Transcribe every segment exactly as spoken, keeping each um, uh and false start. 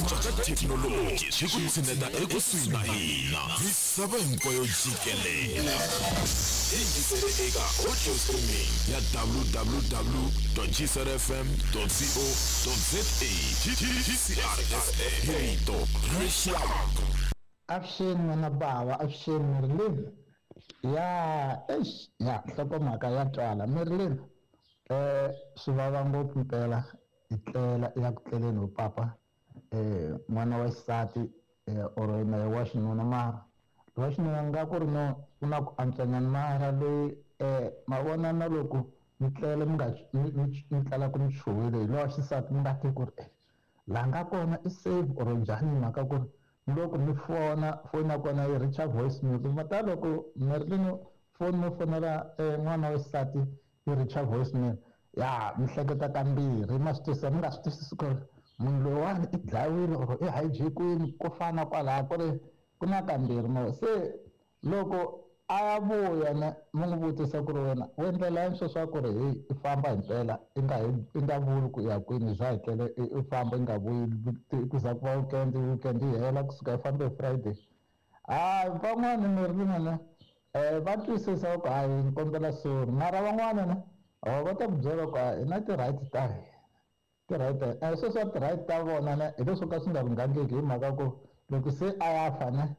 Ku cinca ka thekinoloji swi ku tshineta ekusuhi na hina. Misava hinkwayo jikelela. Yingisele eka audio streaming ya w w w gcrfm co za. G C R F M, rito ra rixaka. Avuxeni n'wana bava, avuxeni Marilyn. Ya, eish, ya nhlokomhaka ya twala, Marilyn. eh swi vava ngopfu mpela i tlela i ya ku tleleni hi papa, eh n'wana wa xisati eh or na wa xinuna, mara wa xinuna nga ku ri no ku na ku antswanyana, mara loyi eh ma vona na loko mi tlele mi nga mi tlela ku mi chuhile hi lowa xisati, mi nga tivi ku ri eh laha nga kona i safe or njhani, mhaka ku ri loko mi fona, foni ya kona yi reacha voice note. Mata loko Marilyn foni mo fonela n'wana wa xisati yi reacha voice mail, ya mi hleketa kambirhi, ma swi twisisa, mi nga swi twisisi ku ri munhu loyiwani i dlayiwile or i hijack-wini, ko fana kwalaya ku ri ku na kambirhi mo. Se loko a ya vuya ne mi n'wi vutisa ku ri wena u endlela yini sweswo ku ri heyi i famba hi mpela i nga i nga vuli ku ya kwini, za hi tlele i famba i nga vuyi ku za ku va weekend, weekend yi hela kusuka i fambe hi Friday. Hayi, van'wani mi ri ne um va twisisa ku hayi ni kombela sorry, mara van'wana ne va ta ku byela ku hi na ti-right ta hina, ti-right ta sweswo ti-right ta vona ne hi leswo ka swi nga lunghangiki, hi mhaka ku loko se a ya fa ne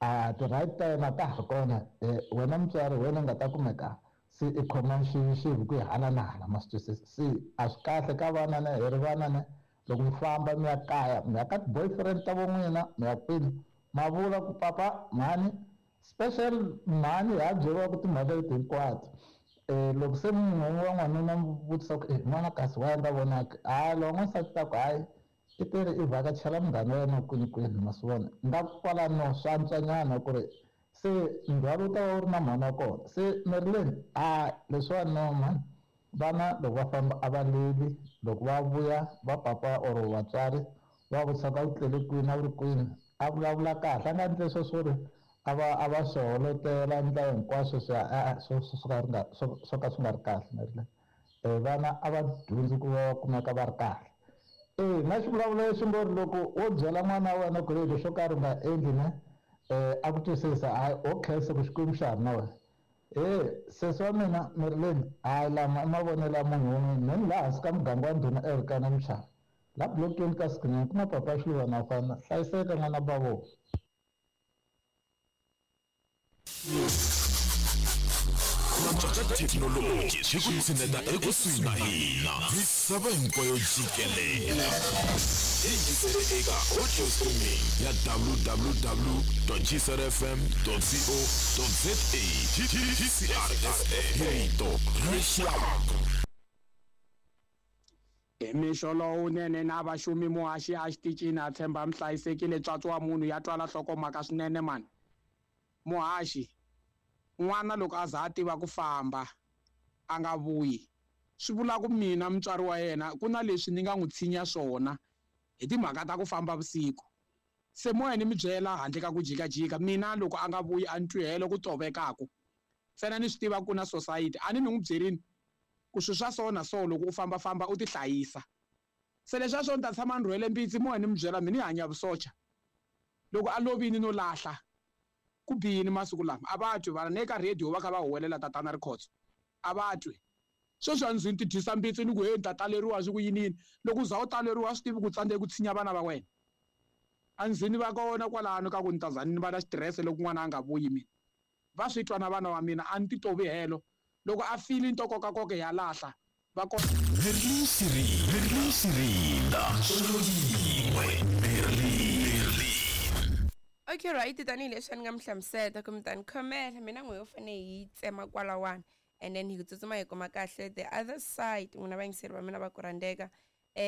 a ti-right ta yena ta ha ri kona, wena mutswari wena u nga ta kumeka se i khoma xivi ku yi hala na hala, ma swi twisisa. Se a swi kahle ka vana ne hi ri vana ne loko mi famba mi ya kaya, mi ya ka ti-boyfriend ta vo n'wina, mi ya kwini, ma vula ku papa, mhani, special mhani, ha byeriwa ku timhaka leti hinkwato. um loko se munhu wa n'wanuna mi vutisa ku n'wana kasi wa nga vonaki, hayi, lowa n'wansati ta ku hayi i teri i vhakachela munghana wa yena kwini kwini, ma swi vona nga kwalano swa antswanyana ku ri se ndzhwalo wu ta va wu ri na mhani wa kona. Se Marilyn, a leswiwani no mhani, vana loko va famba a va leli, loko va vuya va papa or vatswari va vutisa ku a wu tlele kwini, a wu ri kwini, a vulavula kahle, a nga endli leswo swo ri a va a va swi holotela ndlela hinkwaswo swi a swo swo ka ri nga swo swo ka swi nga ri kahle. Marilyn, um vana a va dyondzi ku va va kumeka va ri kahle. E na xivulavulo lexi ngo ri loko wo byela n'wana wa wena ku ri xo karhi u nga endli ne um a ku twisisa, hayi, o khensa ku Xikwembu xa ha ri na wena. E sesi wa mina Marilyn, hayi, lama i mavonelo ya munhu wun'we. Me ni laha hansi ka muganga wa ndhuna Erikana Muchava la blokeni ka sikunene ku na papa Xiluvana fana. Hlayiseka n'wana bavo. Ku cinca ka thekinoloji swi ku tshineta ekusuhi na hina. Misava hinkwayo jikelela. Yingisele eka audio streaming ya w w w gcrfm co za. G C R F M, rito ra rixaka. Hi mixo lowunene na vaxumi, muhaxi a xitichini, a tshemba mi hlayisekile. Tswatsi wa munhu ya twala nhlokomhaka swinene mani. Muhaxi, n'wana loko a za a tiva ku famba a nga vuyi, swi vula ku mina mutswari wa yena ku na leswi ni nga n'wi tshinya swona hi timhaka ta ku famba vusiku. Se moya ni mi byela handle ka ku jikajika, mina loko a nga vuyi a ni twihelo ku tovekaku ntsena, ni swi tiva ku na society a ni ni n'wi byerini ku swilo swa so na so, loko u fambafamba u ti hlayisa. Se leswiya swo ni ta tshama ni rhwele mbitsi, moya ni mi byela mi ni hanya vusocha, loko a lovini no lahla ku bihini. Masiku lama a va twi vana, ne ka radio va kha va huwelela tatana Rikhotso, a va twi. Sweswi a ndzi ni ti dyisa mbitsi ni ku he ni ta taleriwa swi ku yini yini, loko u za u taleriwa swi tivi ku tsandzeki ku tshinya vana va wena. A ndzi ni va kona kwalano ka ku ni ta za ni va na xitirese loko n'wana a nga vuyi. Mina va swi twa na vana wa mina, a ni ti tovi helo, loko a fili ni to kokakoka ya lahla va kona. Merlin Sirinda, Merlin Sirinda, ntsongo yin'we, Merlin. Okay, right, tanihileswi a ni nga mi hlamuseta ku mi ta ni khomela mina n'we yo fane hi tsema kwalawani and then hi tsutsuma hi kuma kahle the other side. N'wina vayingiseri va mina va ku rhandzeka um.